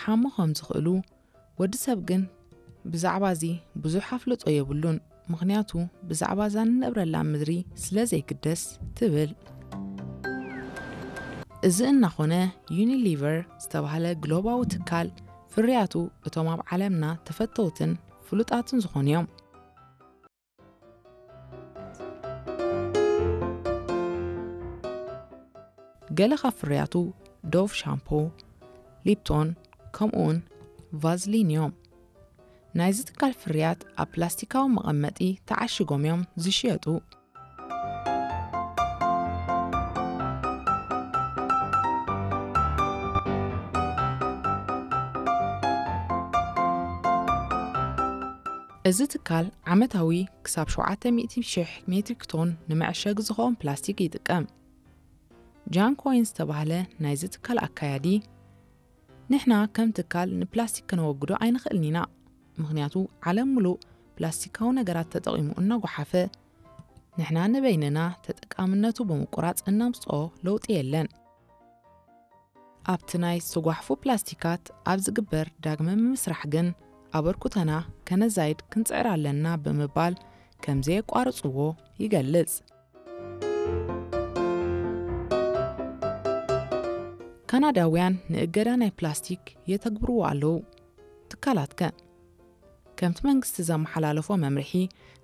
ክጠዓሙ ከም ዝኽእሉ፣ ወዲ ሰብ ግን ብዛዕባ እዚ ብዙሕ ኣፍልጦ የብሉን፣ ምኽንያቱ ብዛዕባ እዛ ንነብረላ ምድሪ ስለ ዘይግደስ ትብል። እዚ እናኾነ፣ ዩኒሊቨር ዝተባህለ ግሎባዊ ትካል ፍርያቱ እቶም ኣብ ዓለምና ተፈተውትን ፍሉጣትን ዝኾኑ እዮም። ገለ ካብ ፍርያቱ ዶቭ ሻምፖ፣ ሊፕቶን፣ ከምኡውን ቫዝሊን እዮም። ናይዚ ትካል ፍርያት ኣብ ፕላስቲካዊ መቐመጢ ተዓሽጎም እዮም ዝሽየጡ። እዚ ትካል ዓመታዊ ክሳብ ሸውዓተ ሚእቲ ሽሕ ሜትሪክ ቶን ንመዐሸጊ ዝኸውን ፕላስቲክ ይጥቀም። ጃን ኮይን ዝተባህለ ናይዚ ትካል ኣካያዲ፣ ንሕና ከም ትካል ንፕላስቲክ ከነወግዶ ኣይንኽእልን ኢና፣ ምኽንያቱ ዓለም ምሉእ ፕላስቲካዊ ነገራት ተጠቒሙ እናጓሓፈ፣ ንሕና ንበይንና ተጠቃምነቱ ብምቁራጽ እነምጽኦ ለውጢ የለን። ኣብቲ ናይ ዝተጓሕፉ ፕላስቲካት ኣብ ዝግበር ዳግመ ምምስራሕ ግን ኣበርኩተና ከነዛይድ ክንጽዕር ኣለና ብምባል ከም ዘየቋርጽዎ ይገልጽ። ካናዳውያን ንእገዳ ናይ ፕላስቲክ የተግብርዎ ኣለዉ። ትካላትከ? ከምቲ መንግስቲ ዘመሓላለፎ መምርሒ፣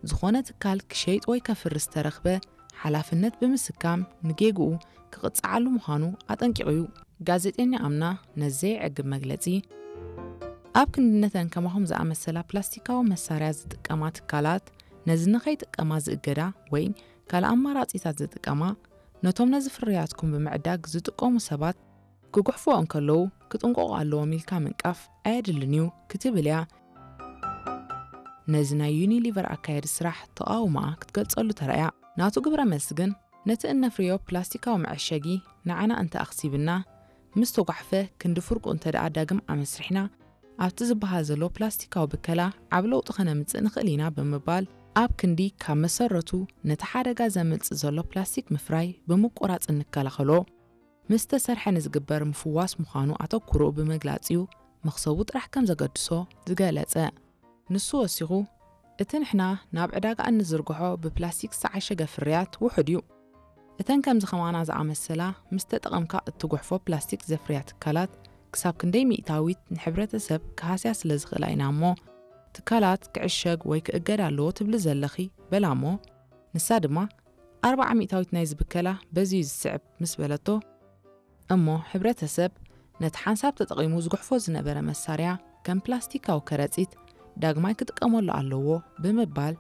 ዝኾነ ትካል ክሸይጥ ወይ ከፍርስ ዝተረኽበ ሓላፍነት ብምስካም ንጌግኡ ክቕጽዓሉ ምዃኑ ኣጠንቂቑ እዩ። ጋዜጠኛ ኣምና ነዚ ዘይዕግብ መግለጺ፣ ኣብ ክንዲ ነተን ከማኹም ዝኣመሰላ ፕላስቲካዊ መሳርያ ዝጥቀማ ትካላት፣ ነዚ ንኸይጥቀማ ዝእገዳ ወይ ካልእ ኣማራጺታት ዝጥቀማ፣ ነቶም ነዚ ፍርያትኩም ብምዕዳግ ዝጥቀሙ ሰባት ክጉሕፍዎ እንከለዉ ክጥንቀቑ ኣለዎም ኢልካ ምንቃፍ ኣየድልን እዩ ክትብል እያ ነዚ ናይ ዩኒሊቨር ኣካየዲ ስራሕ ተቓውሞኣ ክትገልጸሉ ተራእያ። ናቱ ግብረ መልሲ ግን፣ ነቲ እነፍርዮ ፕላስቲካዊ መዐሸጊ ንዓና እንተ ኣኽሲብና፣ ምስ ተጓሕፈ ክንዲ ፍርቁ እንተ ደኣ ዳግም ኣመስሪሕና፣ ኣብቲ ዝበሃል ዘሎ ፕላስቲካዊ ብከላ ዓቢ ለውጢ ከነምጽእ ንኽእል ኢና ብምባል፣ ኣብ ክንዲ ካብ መሰረቱ ነቲ ሓደጋ ዘምልጽ ዘሎ ፕላስቲክ ምፍራይ ብምቁራጽ እንከላኸሎ፣ ምስ ተሰርሐ ንዝግበር ምፍዋስ ምዃኑ ኣተኩሮኡ ብምግላጽ እዩ መኽሰቡ ጥራሕ ከም ዘገድሶ ዝገለጸ። ንሱ ወሲኹ፣ እቲ ንሕና ናብ ዕዳጋ እንዝርግሖ ብፕላስቲክ ዝተዓሸገ ፍርያት ውሑድ እዩ። እተን ከምዚ ከማና ዝኣመሰላ ምስ ተጠቐምካ እትጉሕፎ ፕላስቲክ ዘፍርያ ትካላት ክሳብ ክንደይ ሚእታዊት ንሕብረተሰብ ክሃስያ ስለ ዝኽእላ ኢና እሞ፣ ትካላት ክዕሸግ ወይ ክእገድ ኣለዎ ትብሊ ዘለኺ በላ እሞ፣ ንሳ ድማ ኣርብዓ ሚእታዊት ናይዚ ብከላ በዚ እዩ ዝስዕብ ምስ በለቶ፣ እሞ ሕብረተሰብ ነቲ ሓንሳብ ተጠቒሙ ዝጉሕፎ ዝነበረ መሳርያ ከም ፕላስቲካዊ ከረጺት ዳግማይ ክጥቀመሉ ኣለዎ ብምባል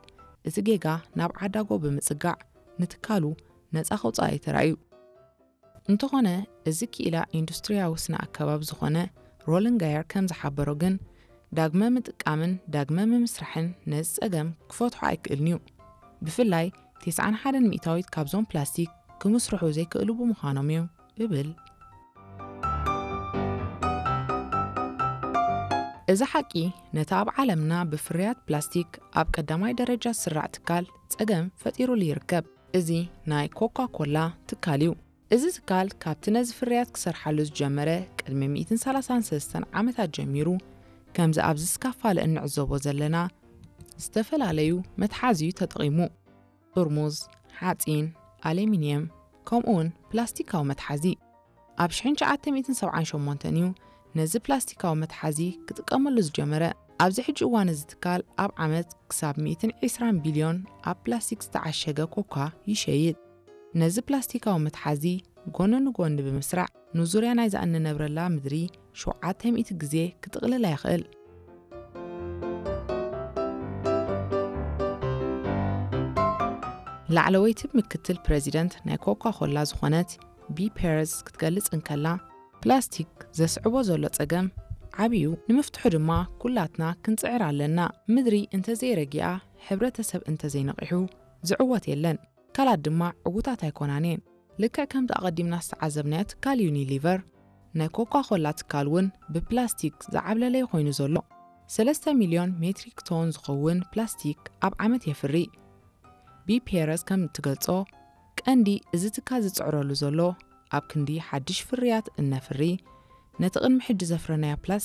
እቲ ጌጋ ናብ ዓዳጎ ብምጽጋዕ ንትካሉ ነጻ ከውጽኣ እዩ ተራእዩ። እንተኾነ እዚ ክኢላ ኢንዱስትሪያዊ ስነ ኣከባቢ ዝኾነ ሮለን ጋየር ከም ዝሓበሮ ግን ዳግመ ምጥቃምን ዳግመ ምምስራሕን ነዚ ጸገም ክፈትሖ ኣይክእልን እዩ። ብፍላይ ተስዓን ሓደን ሚእታዊት ካብዞም ፕላስቲክ ክምስርሑ ዘይክእሉ ብምዃኖም እዩ እብል። እዚ ሓቂ ነቲ ኣብ ዓለምና ብፍርያት ፕላስቲክ ኣብ ቀዳማይ ደረጃ ዝስራዕ ትካል ጸገም ፈጢሩሉ ይርከብ። እዚ ናይ ኮካ ኮላ ትካል እዩ። እዚ ትካል ካብቲ ነዚ ፍርያት ክሰርሓሉ ዝጀመረ ቅድሚ ሚእትን ሰላሳን ሰለስተን ዓመታት ጀሚሩ፣ ከምዚ ኣብዚ ስካፋለ እንዕዘቦ ዘለና ዝተፈላለዩ መትሓዚ እዩ ተጠቒሙ። ጥርሙዝ፣ ሓጺን፣ ኣሉሚንየም፣ ከምኡውን ፕላስቲካዊ መትሓዚ። ኣብ ሽሕን ትሽዓተ ሚእትን ሰብዓን ሸሞንተን እዩ ነዚ ፕላስቲካዊ መትሓዚ ክጥቀመሉ ዝጀመረ። ኣብዚ ሕጂ እዋን እዚ ትካል ኣብ ዓመት ክሳብ ሚእትን ዕስራን ቢልዮን ኣብ ፕላስቲክ ዝተዓሸገ ኮካ ይሸይጥ። ነዚ ፕላስቲካዊ መትሓዚ ጎኒ ንጎኒ ብምስራዕ፣ ንዙርያ ናይዛ እንነብረላ ምድሪ ሸውዓተ ሚእቲ ግዜ ክጥቕልላ ይኽእል። ላዕለወይቲ ምክትል ፕረዚደንት ናይ ኮካ ኮላ ዝኾነት ቢ ፔረዝ ክትገልጽ እንከላ፣ ፕላስቲክ ዘስዕቦ ዘሎ ጸገም ዓብዩ፣ ንምፍትሑ ድማ ኩላትና ክንጽዕር ኣለና። ምድሪ እንተዘይረጊኣ፣ ሕብረተሰብ እንተዘይነቒሑ፣ ዝዕወት የለን። ትካላት ድማ ዕዉታት ኣይኮናን እየን። ልክዕ ከምቲ ኣቐዲምና ዝተዓዘብናዮ ትካል ዩኒሊቨር፣ ናይ ኮካ ኮላ ትካል እውን ብፕላስቲክ ዝዓብለለ ኮይኑ ዘሎ። ሰለስተ ሚልዮን ሜትሪክ ቶን ዝኸውን ፕላስቲክ ኣብ ዓመት የፍሪ። ቢ ፔረዝ ከም እትገልጾ፣ ቀንዲ እዚ ትካል ዝጽዕረሉ ዘሎ ኣብ ክንዲ ሓድሽ ፍርያት እነፍሪ፣ ነቲ ቅድሚ ሕጂ ዘፍረናዮ ፕላስቲክ